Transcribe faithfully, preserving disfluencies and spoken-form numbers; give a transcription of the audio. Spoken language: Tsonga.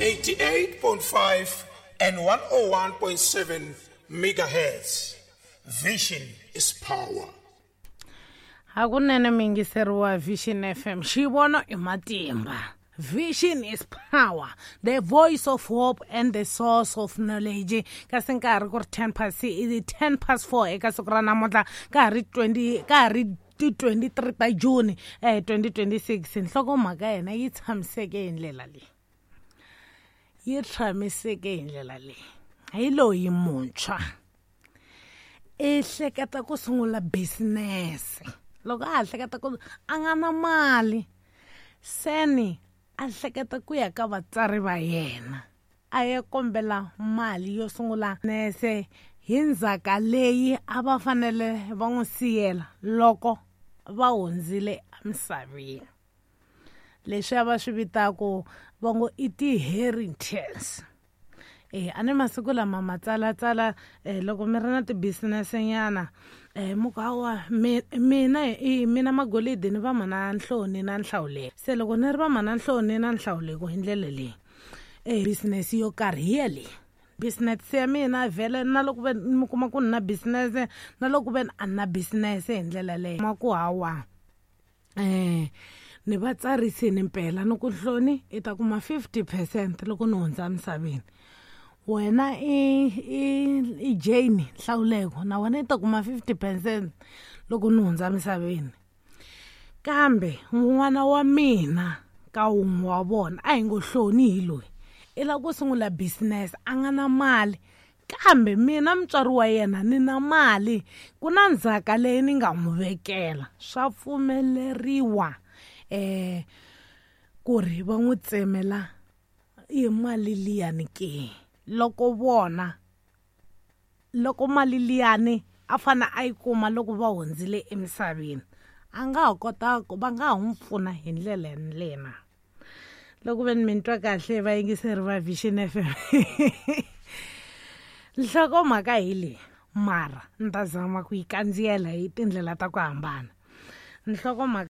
eighty-eight point five and one oh one point seven megahertz. Vision is power. Hakunene miyingiseri wa Vision F M, xivono i matimba. Vision is power, the voice of hope and the source of knowledge. Kasi nkarhi ku ri ten past i ten past four eka siku ra namuntlha, ka ha ri twenty, ka ha ri ti twenty-three ta June, eh, twenty twenty-six. Nhlokomhaka ya hina yi tshamiseke hi ndlela leyi. Yi tshamiseke hi ndlela leyi. Hi loyi muntshwa i hleketa ku sungula business. Loko a ha hleketa ku a nga na mali, seni a hleketa ku ya ka vatswari va yena a ya kombela mali yo sungula business hi ndzhaka leyi a va fanele va n'wi siyela loko va hundzile emisaveni. Leswi a va swi vitaka va ngo i ti-inheritance. Eh, a ni masiku lama matsalatsala, eh, loko mi ri na ti-business nyana, eh, mi ku hawa, mi-, mina i mina Magolidi ni va mana Nhloni na Nhlawuleko. Se loko ni ri va mana Nhloni na Nhlawuleko hi ndlela leyi, eh, business yo karhi hi yaleyi. Business ya mina vhele na loko ve mi kuma ku ni na business, na loko ve a ni na business hi ndlela leyi. Ma ku hawa, eh, ni va tsarisini mpela ni ku Nhloni i ta kuma fifty percent loko ni hundza emisaveni. Wena i, i, i Jane Nhlawuleko na wena i ta kuma fifty percent loko ni hundza emisaveni. Kambe n'wana wa mina ka wun'we wa vona a hi ngo Hloni hi loyi, i lava ku sungula business a nga na mali, kambe mina mutswari wa yena ni na mali, ku na ndzhaka leyi ni nga n'wi vekela. Swa pfumeleriwa, eh, ku ri va n'wi tsemela hi mali liyani ke? Loko vona, loko mali liyani a fane a yi kuma loko va hundzile emisaveni, a nga ha kota ku va nga ha n'wi pfuna hi ndlela yaleyo na. Loko ve ni mi twa kahle vayingiseri va Vision F M. Nhlokomhaka hi leyi, mara ni ta zama ku yi kandziyela hi tindlela ta ku hambana. Nhlokomhaka